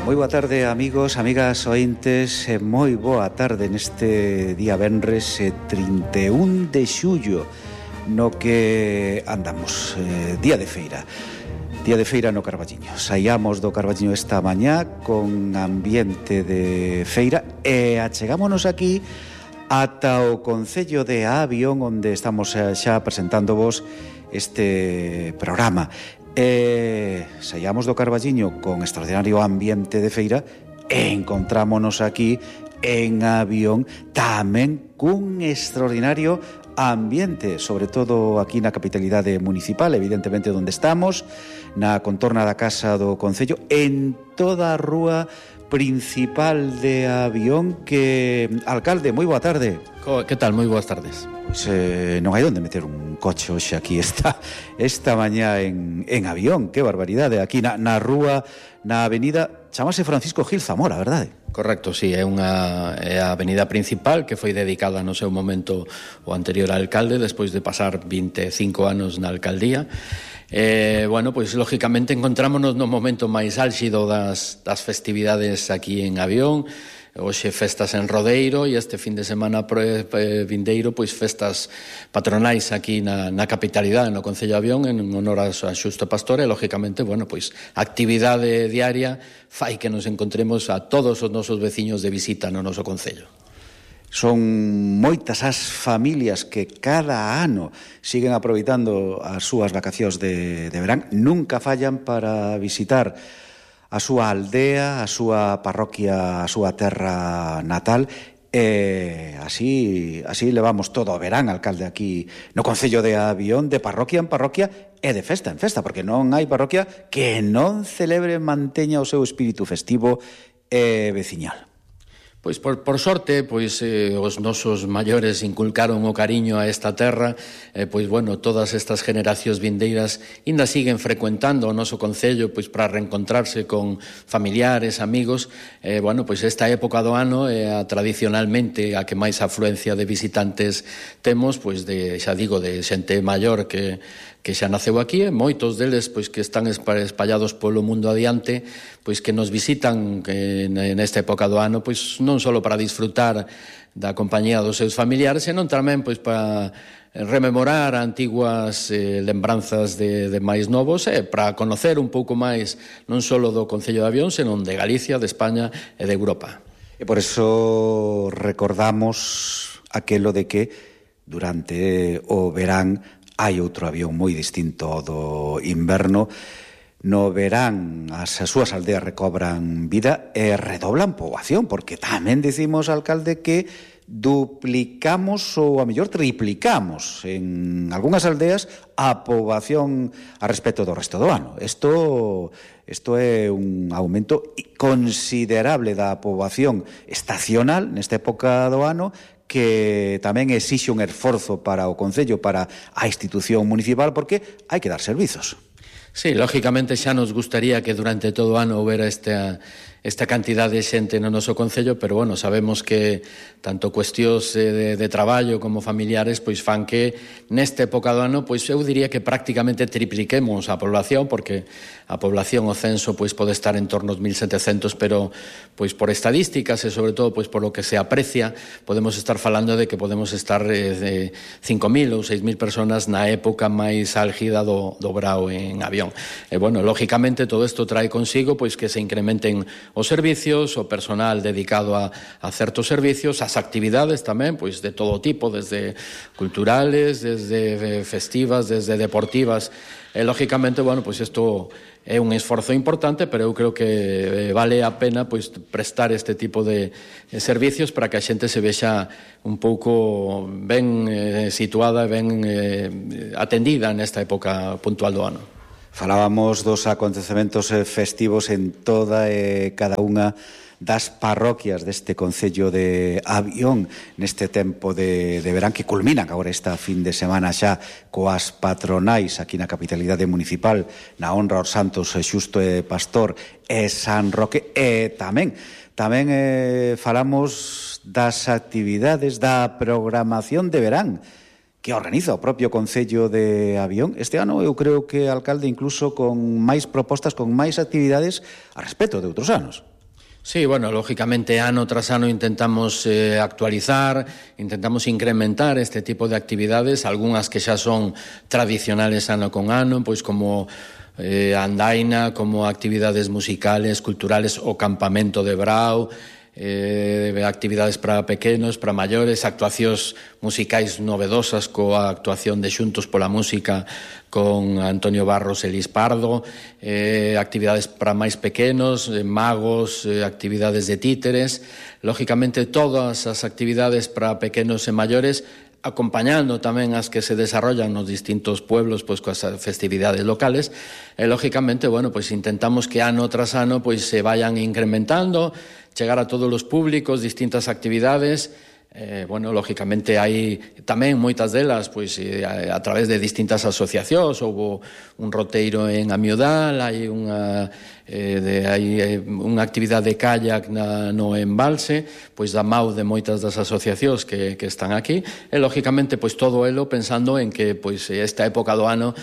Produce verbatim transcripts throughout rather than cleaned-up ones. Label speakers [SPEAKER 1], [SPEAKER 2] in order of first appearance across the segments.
[SPEAKER 1] Moi boa tarde, amigos, amigas, ointes, e moi boa tarde neste día venres trinta e un de xullo, no que andamos, eh, día de feira. Día de feira no Carballiño. Saíamos do Carballiño esta mañá con ambiente de feira e achegámonos aquí ata o Concello de Avión, onde estamos xa presentándovos este programa. E saíamos do Carballiño con extraordinario ambiente de feira e encontrámonos aquí en Avión tamén cun extraordinario ambiente, sobre todo aquí na capitalidade municipal, evidentemente onde estamos, na contorna da Casa do Concello, en toda a rúa principal de Avión. Que, alcalde, moi boa tarde.
[SPEAKER 2] Que tal? Moi boas tardes.
[SPEAKER 1] Pois eh, non hai onde meter un coche hoxe aquí esta, esta mañá en, en Avión. Que barbaridade, aquí na, na rúa, na avenida, chamase Francisco Gil Zamora, verdade?
[SPEAKER 2] Correcto, sí, é unha é a avenida principal que foi dedicada no seu momento o anterior alcalde, despois de pasar vinte e cinco anos na alcaldía. Eh, bueno, pois lógicamente encontrámonos no momento máis álxido das, das festividades aquí en Avión. Hoxe festas en Rodeiro e este fin de semana pre, pre, vindeiro, pois festas patronais aquí na, na capitalidade, no Concello de Avión, en honor a Xusto Pastor, e lógicamente, bueno, pois actividade diaria fai que nos encontremos a todos os nosos veciños de visita no noso Concello.
[SPEAKER 1] Son moitas as familias que cada ano siguen aproveitando as súas vacacións de, de verán, nunca fallan para visitar a súa aldea, a súa parroquia, a súa terra natal, e así así levamos todo o verán, alcalde, aquí no Concello de Avión, de parroquia en parroquia e de festa en festa, porque non hai parroquia que non celebre, manteña o seu espírito festivo e veciñal.
[SPEAKER 2] Pois por, por sorte, pois eh, os nosos maiores inculcaron o cariño a esta terra, eh, pois bueno, todas estas generacións vindeiras ainda siguen frecuentando o noso concello pois para reencontrarse con familiares, amigos. Eh, bueno, pois esta época do ano é a, tradicionalmente a que máis afluencia de visitantes temos, pois de, xa digo, de xente maior que que xa naceu aquí, e moitos deles pois que están espallados polo mundo adiante, pois que nos visitan que nesta época do ano, pois non só para disfrutar da compañía dos seus familiares, senón tamén pois para rememorar antiguas eh, lembranzas de, de máis novos, e para conocer un pouco máis non só do Concello de Avión, senón de Galicia, de España e de Europa.
[SPEAKER 1] E por eso recordamos aquelo de que durante o verán hai outro avión moi distinto ao do inverno. No verán as súas aldeas recobran vida e redoblan poboación, porque tamén dicimos, alcalde, que duplicamos ou a mellor triplicamos en algunhas aldeas a poboación a respecto do resto do ano. Isto, isto é un aumento considerable da poboación estacional nesta época do ano, que tamén exixe un esforzo para o Concello, para a institución municipal, porque hai que dar servizos.
[SPEAKER 2] Sí, lógicamente xa nos gustaría que durante todo o ano houbera esta, esta cantidad de xente no noso Concello, pero bueno, sabemos que tanto cuestións de, de traballo como familiares pois fan que nesta época do ano pois eu diría que prácticamente tripliquemos a población, porque a población, o censo, pois pode estar en torno aos mil setecentos, pero pois por estadísticas e sobre todo pois por lo que se aprecia, podemos estar falando de que podemos estar eh, de cinco mil ou seis mil personas na época máis álgida do, do brao en Avión. E bueno, lógicamente todo isto trae consigo pois que se incrementen os servicios, o personal dedicado a, a certos servicios, as actividades tamén, pois de todo tipo, desde culturales, desde festivas, desde deportivas. E lógicamente, bueno, pois isto é un esforzo importante, pero eu creo que vale a pena pois prestar este tipo de servicios para que a xente se vexa un pouco ben eh, situada e ben eh, atendida nesta época puntual do ano.
[SPEAKER 1] Falábamos dos acontecementos festivos en toda e cada unha das parroquias deste Concello de Avión neste tempo de, de verán, que culminan agora esta fin de semana xa coas patronais aquí na capitalidade municipal, na honra aos santos Xusto e Pastor e San Roque. E tamén tamén eh, falamos das actividades da programación de verán que organiza o propio Concello de Avión. Este ano eu creo que, alcalde, incluso con máis propostas, con máis actividades a respecto de outros anos.
[SPEAKER 2] Sí, bueno, lógicamente ano tras ano intentamos eh, actualizar, intentamos incrementar este tipo de actividades, algunhas que xa son tradicionales ano con ano, pois como eh, andaina, como actividades musicales, culturales, o campamento de Brao, eh, actividades para pequenos, para maiores, actuacións musicais novedosas coa actuación de Xuntos pola Música con Antonio Barros e Lis Pardo, eh, actividades para máis pequenos, eh, magos, eh, actividades de títeres, lógicamente todas as actividades para pequenos e maiores, acompañando tamén as que se desarrollan nos distintos pueblos pois coas festividades locales e lógicamente, bueno, pois intentamos que ano tras ano pois se vayan incrementando, chegar a todos os públicos, distintas actividades. Eh, bueno, lógicamente hai tamén moitas delas pois eh, a, a través de distintas asociacións. Houbo un roteiro en Amiodal, hai unha eh, de, hai eh, unha actividade de kayak na, no embalse, pois da mau de moitas das asociacións que, que están aquí, e lógicamente pois todo elo pensando en que pois esta época do ano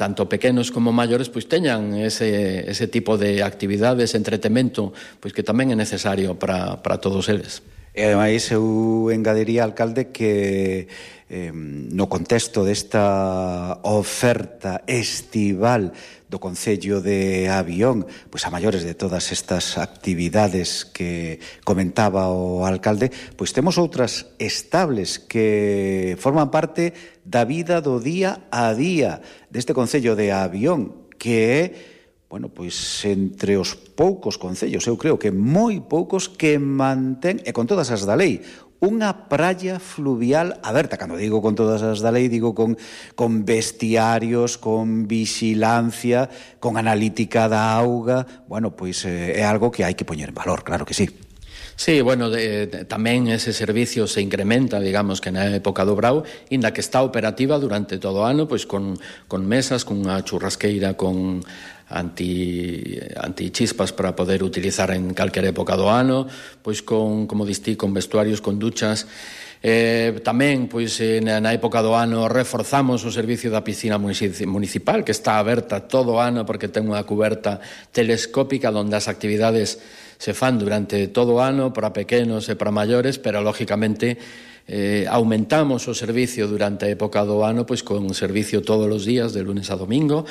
[SPEAKER 2] tanto pequenos como maiores pois teñan ese, ese tipo de actividades, entretemento, pois que tamén é necesario para, para todos eles.
[SPEAKER 1] E ademais eu engadiría, alcalde, que eh, no contexto desta oferta estival do Concello de Avión, pois a maiores de todas estas actividades que comentaba o alcalde, pois temos outras estables que forman parte da vida do día a día deste Concello de Avión, que é, bueno, pois entre os poucos concellos, eu creo que moi poucos, que mantén, e con todas as da lei, unha praia fluvial aberta. Cando digo con todas as da lei, digo con, con bestiarios, con vixilancia, con analítica da auga. Bueno, pois eh, é algo que hai que poñer en valor, claro que sí.
[SPEAKER 2] Sí, bueno, de, de, tamén ese servicio se incrementa, digamos, que na época do Brao, inda que está operativa durante todo o ano, pois con, con mesas, con unha churrasqueira, con anti, antichispas para poder utilizar en calquera época do ano, pois con, como distí, con vestuarios, con duchas. Eh, tamén, pois, na, na época do ano reforzamos o servicio da piscina municipal, que está aberta todo o ano porque ten unha cuberta telescópica onde as actividades se fan durante todo o ano para pequenos e para maiores, pero lógicamente eh, aumentamos o servicio durante a época do ano pois con servicio todos os días, de lunes a domingo.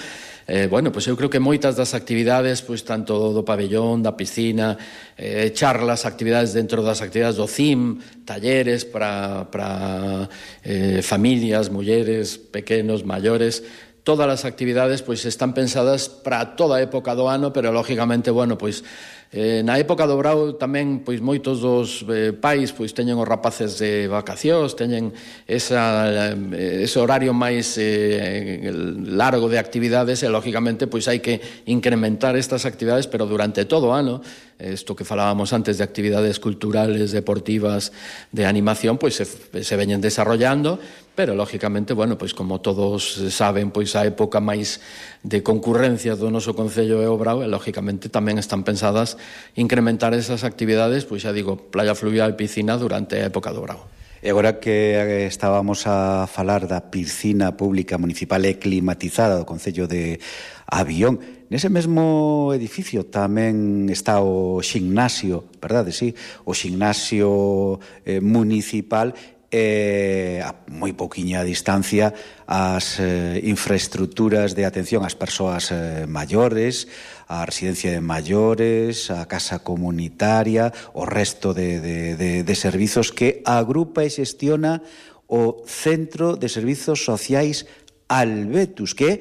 [SPEAKER 2] Eh, bueno, pois eu creo que moitas das actividades, pois tanto do pabellón, da piscina, eh, charlas, actividades dentro das actividades do C I M, talleres para, para eh, familias, mulleres, pequenos, maiores. Todas as actividades pois están pensadas para toda a época do ano, pero lógicamente, bueno, pois Eh, na época do Brao tamén pois moitos dos eh, pais pois teñen os rapaces de vacacións, teñen esa, eh, ese horario máis eh, largo de actividades e lógicamente pois hai que incrementar estas actividades, pero durante todo o ano. Isto que falábamos antes de actividades culturales, deportivas, de animación, pois se, se veñen desarrollando, pero lógicamente, bueno, pois como todos saben, pois a época máis de concurrencia do noso Concello é o Brao, e lógicamente tamén están pensadas incrementar esas actividades, pois xa digo, playa fluvial, piscina durante a época do Brao.
[SPEAKER 1] E agora que estábamos a falar da piscina pública municipal e climatizada do Concello de Avión, nese mesmo edificio tamén está o ximnasio, verdade, sí? O ximnasio eh, municipal, e a moi pouquiña distancia as eh, infraestructuras de atención ás persoas eh, maiores, a residencia de maiores, a casa comunitaria, o resto de, de, de, de servizos que agrupa e xestiona o Centro de Servizos Sociais Albetus, que é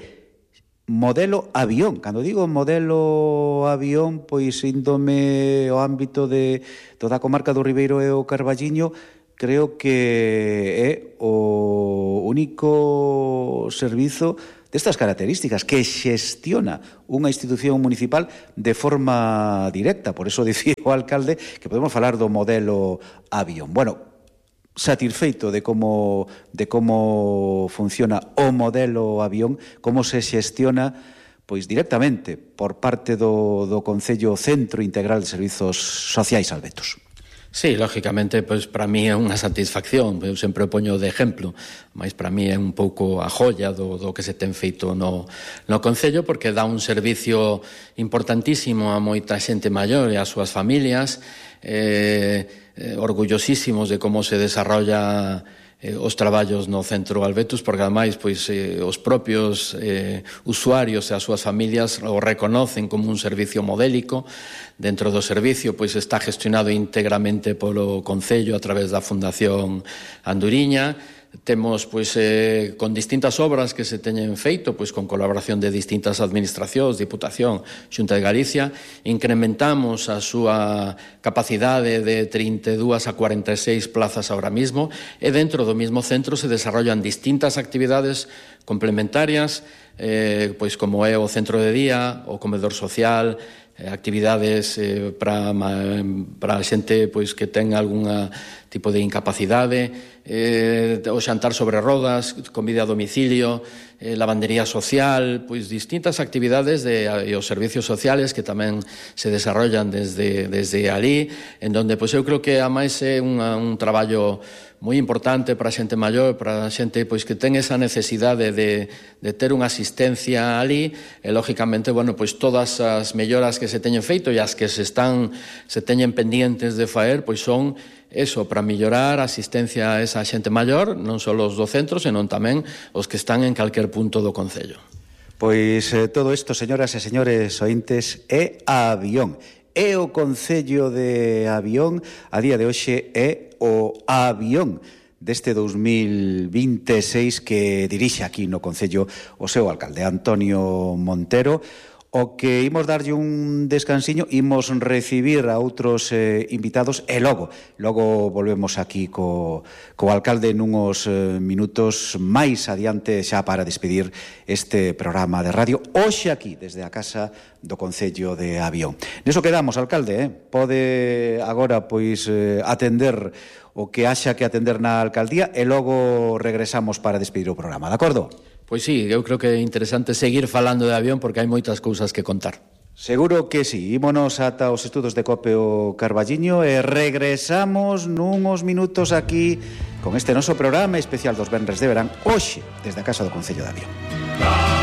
[SPEAKER 1] modelo avión. Cando digo modelo avión, pois índome ao ámbito de toda a comarca do Ribeiro e o Carballiño, creo que é o único servizo destas características que xestiona unha institución municipal de forma directa. Por eso dicía o alcalde que podemos falar do modelo avión. Bueno, satisfeito de como de como funciona o modelo avión, como se xestiona pois directamente por parte do, do Concello Centro Integral de Servizos Sociais Albetus.
[SPEAKER 2] Sí, lógicamente, pois para mí é unha satisfacción, eu sempre o poño de exemplo, mas para mí é un pouco a joia do, do que se ten feito no, no Concello, porque dá un servicio importantísimo a moita xente maior e ás súas familias, eh, eh, orgullosísimos de como se desarrolla eh, os traballos no Centro Albetus, porque ademais pois, eh, os propios eh, usuarios e as súas familias o reconocen como un servicio modélico. Dentro do servicio pois, está gestionado íntegramente polo Concello a través da Fundación Anduriña. Temos pois, eh, con distintas obras que se teñen feito, pois, con colaboración de distintas administracións, Diputación, Xunta de Galicia, incrementamos a súa capacidade de trinta e dúas a cuarenta e seis plazas ahora mismo, e dentro do mesmo centro se desarrollan distintas actividades complementarias, eh, pois como é o centro de día, o comedor social, actividades eh, para para a xente pois que ten algún tipo de incapacidade, eh, o xantar sobre rodas, comida a domicilio, eh, lavandería social, pois distintas actividades de, e os servicios sociales que tamén se desarrollan desde, desde ali, en donde pois eu creo que a máis é un, un traballo moi importante para a xente maior, para a xente pois que ten esa necesidade de, de ter unha asistencia ali, e lógicamente, bueno, pois todas as melloras que se teñen feito e as que se están se teñen pendientes de faer, pois son eso, para mellorar a asistencia a esa xente maior, non só os do centro, senón tamén os que están en calquer punto do Concello.
[SPEAKER 1] Pois eh, todo isto, señoras e señores ointes, é a Avión. É o Concello de Avión, a día de hoxe é o Avión deste dous mil vinte e seis que dirixe aquí no Concello o seu alcalde, Antonio Montero, o que imos darlle un descansiño, imos recibir a outros eh, invitados e logo, logo volvemos aquí co, co alcalde nunhos eh, minutos máis adiante xa para despedir este programa de radio hoxe aquí, desde a Casa do Concello de Avión. Neso quedamos, alcalde, eh? Pode agora pois eh, atender o que haxa que atender na alcaldía e logo regresamos para despedir o programa, de acordo?
[SPEAKER 2] Pois sí, eu creo que é interesante seguir falando de Avión porque hai moitas cousas que contar.
[SPEAKER 1] Seguro que sí. Ímonos ata os estudos de Cope o Carballiño e regresamos nunhos minutos aquí con este noso programa especial dos Venres de Verán hoxe desde a Casa do Concello de Avión.